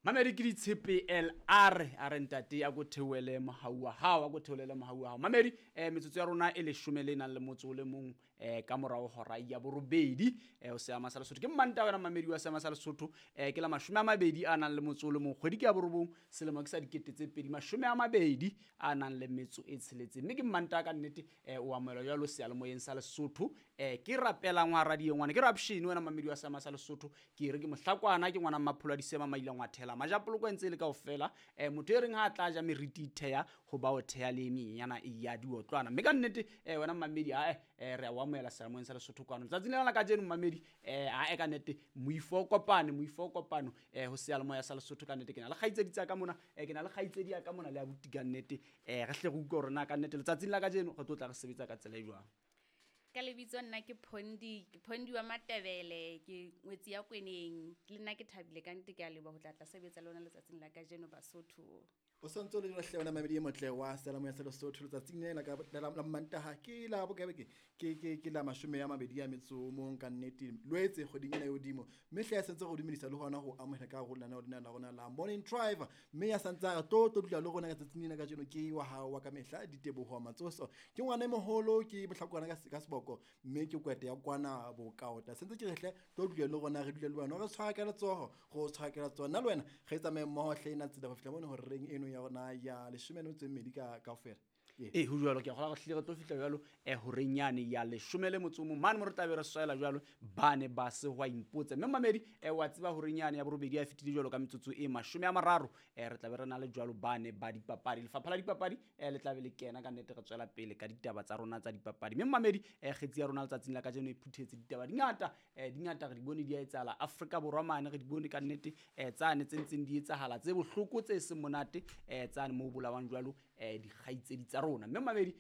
Mamedi ke ditshepe LR a re ntate a ko theohele mohau wa hao, a ko theolele mohau wa hao. Mamedi, metsotso ya rona e leshome le nang le motso o le mong ka morao hora ya borobedi ho seama sa Lesotho. Ke Mmanta wena mamedi wa seama sa Lesotho, ke la 20 a nang le motso o le mong, kgwedi ke ya borobong, selemo ke sa 2026 a nang le metso e tsheletseng. Mme ke Mmanta ka nnete, o amohelwa jwalo seyalemoyeng sa Lesotho. Ke rapelang wa radio ngwana, ke Rapshini wena mamedi wa seama sa Lesotho. Ke re ke mohlakwana, ke ngwana mmapholo a disema maila ngwathela majapoloko a ntse e le kaofela. Motho e reng ha a tla ja meriti itheya ho ba o theya le menyenyana ya diotlwana. Mme ka nnete, wena mmamedi, ae, re a o amohela seyalemoyeng sa Lesotho kwano letsatsing lena la kajeno mmamedi. Ae ka nnete moifo o kopane, moifo o kopano ho seyalemoya sa Lesotho. Ka nnete ke na le kgaitsedi tsa ka mona, ke na le kgaitsedi ya ka mona le abuti ka nnete. Re hle re utlwe hore na ka nnete letsatsing la kajeno re tlo tla re sebetsa ka tsela e jwang. Ka lebitso nna ke Phondi, ke Phondi wa Matebele, ke ngwetsi ya Kweneng. Le nna ke thabile ka nnete, ke a leboha ho tla tla sebetsa le lona letsatsing la kajeno Basotho. O santse o le jwalo hle wena mamedi e motle wa seyalemoya sa Lesotho. Letsatsing lena ka la Mmantaha ke la bokae ke ke ke ke la 20 a metso o mong ka nnete Loetse kgweding ena e hodimo. Mme hle ya sentse go dumedisa le hona ho amohela ka hare ho lenaneo lena la rona la Morning Drive. Mme ya santse a re tlo tlo dula le rona ka tsatsing lena kajeno ke wa hao wa ka mehla Diteboho Matsoso. Ke ngwana e moholo, ke mohlakwana ka seboko, mme ke kwete ya kwana bokaota. Sentse ke re hle tlo dula le rona, re dule le wena, re tshwara ka letsoho, re o tshwara ka letsoho. Nna le wena re tsamaye mmoho hle ena tsela ho fihla mono horeng eno ya rona ya 12 ka kaofela. Ee, ho jwalo, ke a kgolwa re hlile re tlo fihla jwalo horeng yane ya 11 mane mo re tlabe re swela jwalo ba ne ba se hwa impotsa. Mme mamedi, wa tseba horeng yane ya borobedi ya fetile jwalo ka metsotso e 30, re tlabe re na le jwalo ba ne ba dipapadi. Lefapha la dipapadi le tlabe le kena ka nnete, re tswela pele ka ditaba tsa rona tsa dipapadi. Mme mamedi, kgetsi ya rona letsatsing la kajeno e phuthetse ditaba di ngata, di ngata re di bone di a etsahala Afrika Borwa mane, re di bone ka nnete, tsane tse ntseng di etsahala tse bohloko tse seng monate, tsane moo bolawang jwalo dikgaitsedi tsa rona. Mme mamedi,